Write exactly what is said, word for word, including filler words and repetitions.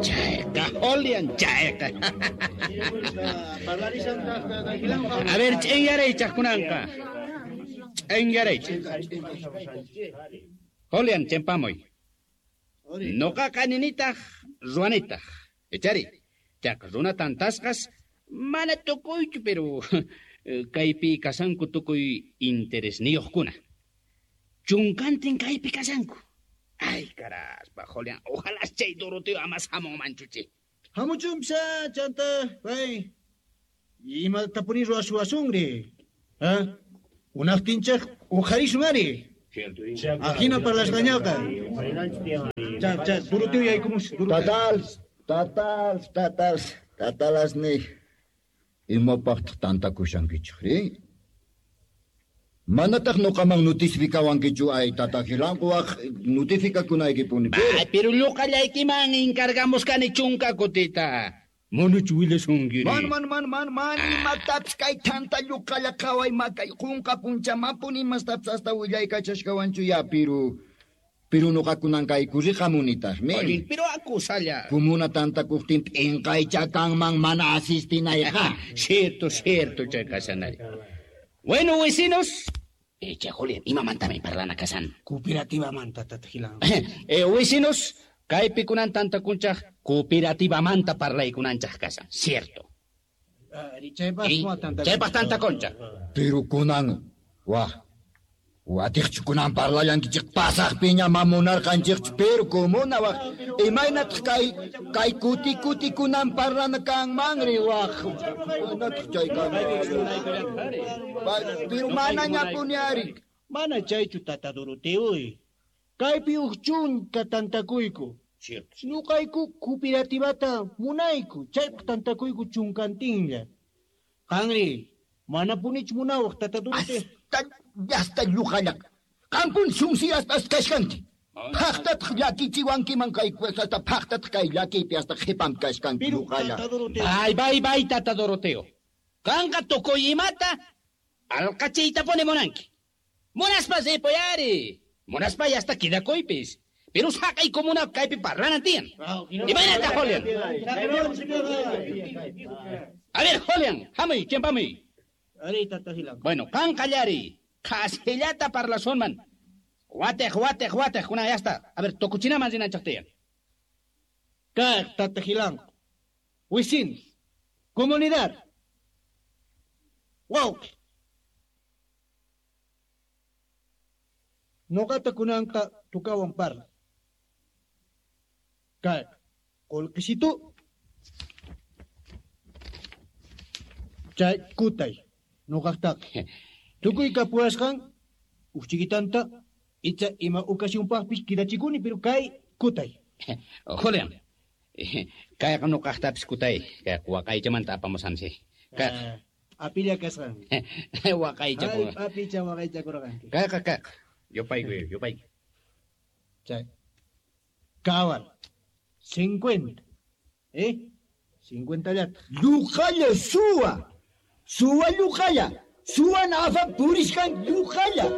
Chayqa, Julián, chayqa. A ver, ch'inyaray chaqkunanqa. Ch'inyaray. Julián, chimpamuy. Noqaqa ninitaq, ruwanitaq. Echari, chaq runa tantasqas, mana tukuychu, pero kaypi kasanku tukuy interesniyuqkuna. Chunkantin kaypi kasanku. Ay, caraspa, Julián, ojalá chay Doroteo amas hamunmanchu chi. Hamuchunpisa, chanta, pay. Imatapuni ruwasuwasunri. ¿Ah? Unaqtinchaq uqharisun ari. Ajina parlasqañaqa. Cha, cha, Doroteo yaykumus. Tatals, tatals, tatals, tatalas ni. Imapaqtaq tantakushankichik ri? Manataq nuqaman notificawankichu ay tata Gilanquwaq notificakunaykipuni. Ay, pero lluqallaykiman encargamos kani chunka kutita. Manachu willashunki? Man, man, man, man, man, imatapis kay tanta lluqalla qhaway makay qunqa punchamanpuni imastapis hasta willaykachashkawanchu ya, pero pero nuqakunan kay kuriqamunitaqmi. Oye, pero acusalla. Comuna tantakuqtin p'inqaycha kanman mana asistinayqa. Cierto, cierto, chay kasanari. Bueno, vecinos. Eh, che, Julián, imamantami parlana kasan. Cooperativamanta, tata Gilanqu. Eh, vecinos, kaypi kunan tantakunchaq cooperativamanta parlaykunanchaq kasan, cierto. Ari, chaypaq Y tanta chaypaq tantakunchaq. Pero kunan, wah, watiqchu kunan parlallankichik pasaqpiña mamunarqanchikchu, pero comuna wah, imaynataq kay, kay kuti kuti kunan parlana kanmanri wah, imaynataq chay kanman? Pero manañapuni ari. Mana chaychu tata Doroteo. Kaypi uj chunka tantakuyku. Cierto. Ñuqayku cooperativata munayku, chaypaq tantakuyku chunkantinlla. Qanri, manapunichu munawaq tata Doroteo. Hasta, hasta lluqallaq. Qampun sunsiyaspas kashkanki. Phaqtataq llakichiwankiman kay hasta phaqtataq kay llakiypi hasta qhipam kashkanki Pero lluqalla. tata Doroteo. Bay, bay, bay, tata Doroteo. Qanqa tukuy imata alqachiytapuni munanki. Munaspa ripuy ari. Munaspa hasta quedakuypis. Pero saqay comuna kaypi parlanan tiyan. Imaynata, Julián? A ver, Julián, hamuy, chimpamuy. Ari, tata Gilanqu. Bueno, qan qallari. Qhasillata parlasunman. Wateq, wateq, wateq, kuna ya está. A ver, tukuchinaman rinanchaq tiyan. Kaq, tata Gilanqu. Vecinos, comunidad. Wawqi. Noqata kunanqa tukawan parla. Kaq, qullqisitu. Chay kutay, noqaqtaqa. Tukuy kapuwasqan, uj chiquitanta, icha ima ocasiónpaqpis quedachikuni, pero kay kutay. Julián, kayqa noqaqtapis kutay. Kayqa waqaychamanta apamusansi. Kayqa. Ah, apilla kasqan. Waqaycha Ay, apicha waqaychakurqanki. Kayqa, kayqa. Yupaykuy, yupaykuy. Chay. Cabal. Cincuenta. ¿Eh? Cincuenta llata. Lluqalla suwa. Suwa lluqalla. Suwa nafa purishkan lluqalla.